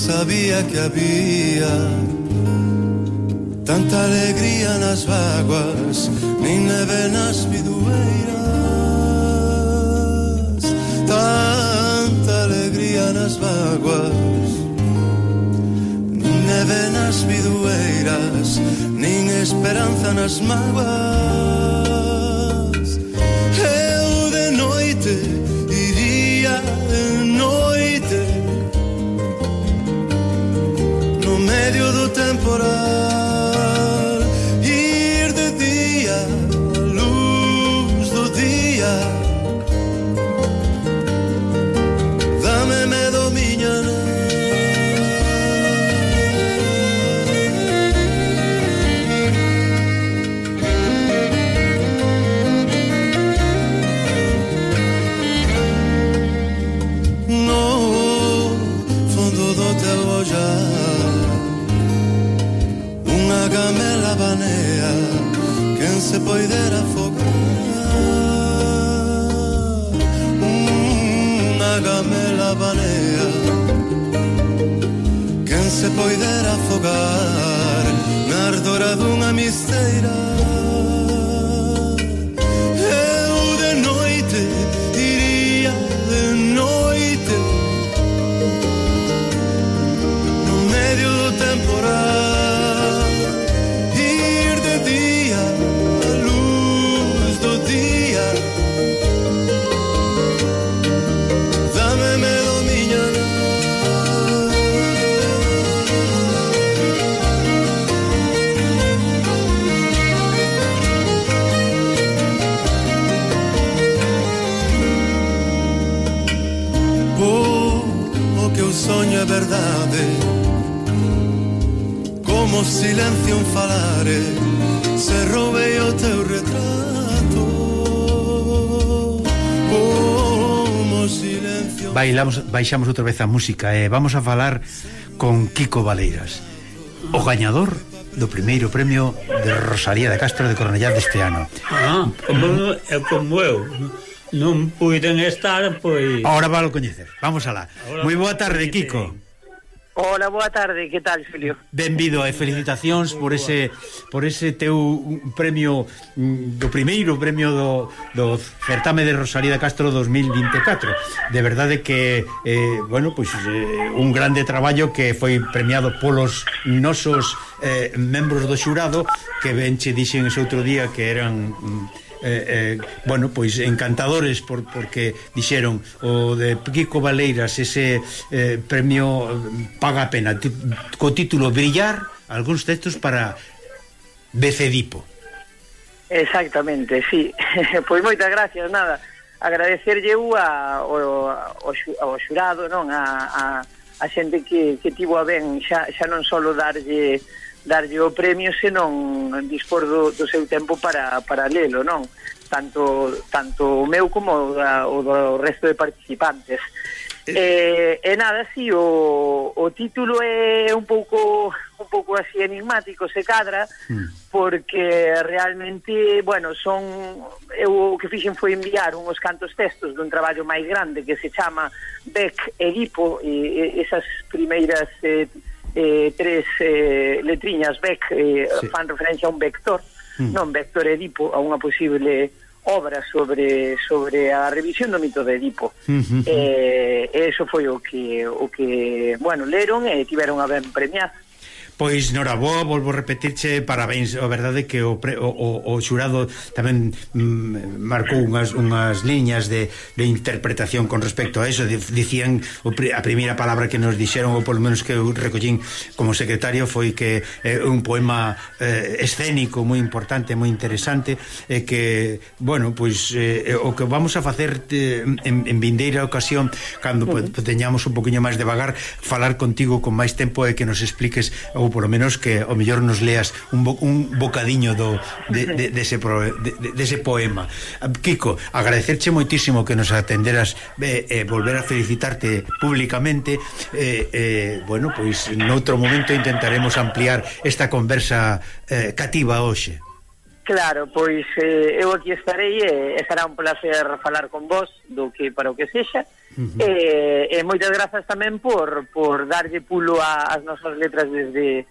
sabía que había tanta alegría nas vaguas, nin neve nas bidueiras. Tanta alegría nas vaguas, nin neve nas bidueiras, nin esperanza nas mágoas. Eu de noite iría de noite no medio do temporal, ir de día a luz do día. Dame medo miña no fondo do teu ollar unha gamela banea quen se poidera afogar. Unha gamela banea quen se poidera afogar na ardora dunha misteira. Eu de noite iría de noite no medio do temporal, ir de día a luz do día. Dame medo miña o que eu soño é verdade, como silencio un falare, se roubei o teu retrato. Como silencio. Baixamos outra vez a música e vamos a falar con Quico Valeiras, o gañador do primeiro premio de Rosalía de Castro de Cornellá deste ano. Como eu non puiden estar, pois... Ahora valo coñecer, vamos alá. Moi boa tarde, Quico. Hola, boa tarde, que tal, Xulio? Benvido e felicitacións por ese teu premio, do primeiro premio do certame de Rosalía de Castro 2024. De verdade que bueno, pois un grande traballo que foi premiado polos nosos membros do xurado, que ben che dixen ese outro día que eran bueno, pois encantadores porque dixeron o de Quico Valeiras, ese premio paga a pena, co título Brillar, algúns textos para Becedipo. Exactamente, sí. Pois moitas gracias, nada, agradecerlle ao xurado, non, a xente que tivo a ben xa non só darlle o premio, senón dispor do seu tempo para lelo, non? Tanto o meu como o do resto de participantes. E nada, si, o título é un pouco así enigmático, se cadra, porque realmente, bueno, eu o que fixen foi enviar uns cantos textos dun traballo máis grande que se chama Bec Edipo, e esas primeiras tres letriñas Bec fan referencia a un vector, non Vector Edipo, a unha posible obra sobre a revisión do mito de Edipo. E eso foi o que bueno, leron e tiveron a ben premiar. Pois noraboa, volvo a repetirche, parabéns. A verdade que o xurado tamén marcou unhas liñas de interpretación con respecto a eso. Dicían, a primeira palabra que nos dixeron, ou polo menos que eu recollín como secretario, foi que un poema escénico moi importante, moi interesante, e que, bueno, pois o que vamos a facer en vindeira ocasión, cando teñamos un poquinho máis de vagar, falar contigo con máis tempo e que nos expliques, ou polo menos que o mellor nos leas un bocadiño dese poema. Quico, agradecerche moitísimo que nos atenderas, volver a felicitarte públicamente, bueno, pois noutro momento intentaremos ampliar esta conversa cativa hoxe. Claro, pois eu aquí estarei e será un placer falar con vos do que para o que sexa, E moitas grazas tamén por darlle pulo ás nosas letras desde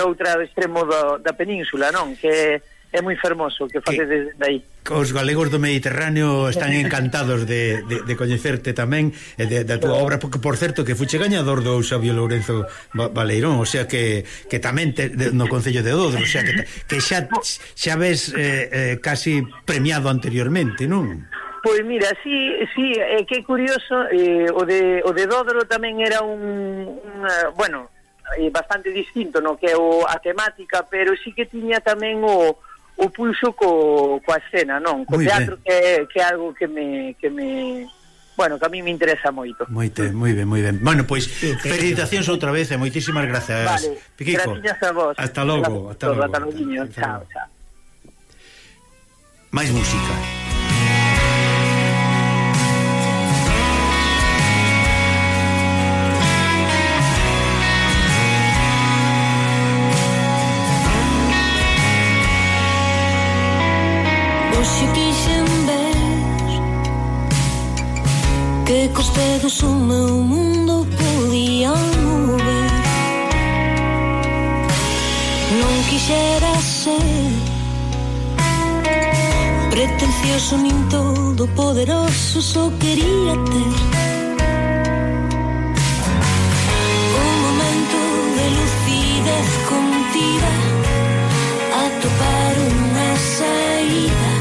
outro extremo da península, non? Que é moi fermoso que facedes desde aí. Os galegos do Mediterráneo están encantados de coñecerte tamén da túa obra, porque por certo que fuche gañador do Xabio Lourenzo Baleirón, o sea que tamén no Concello de Dodro, o sea que xa ves casi premiado anteriormente, non? Pois mira, sí, que curioso, o de Dodro tamén era bueno, bastante distinto no que é a temática, pero sí que tiña tamén o pulso coa escena, non? Co teatro que é algo que me bueno, que a mí me interesa moito. Moi ben. Bueno, pois felicitacións outra vez e moitísimas grazas. Vale, Piquico. Gracias a vos. Hasta logo. Hasta logo, niño. Chao. Mais música. Hoxe quixen ver que cos dedos o meu mundo podía mover. Non quixera ser pretencioso nin todo poderoso, só quería ter un momento de lucidez contida, atopar unha saída,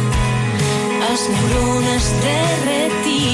as neuronas derretidas.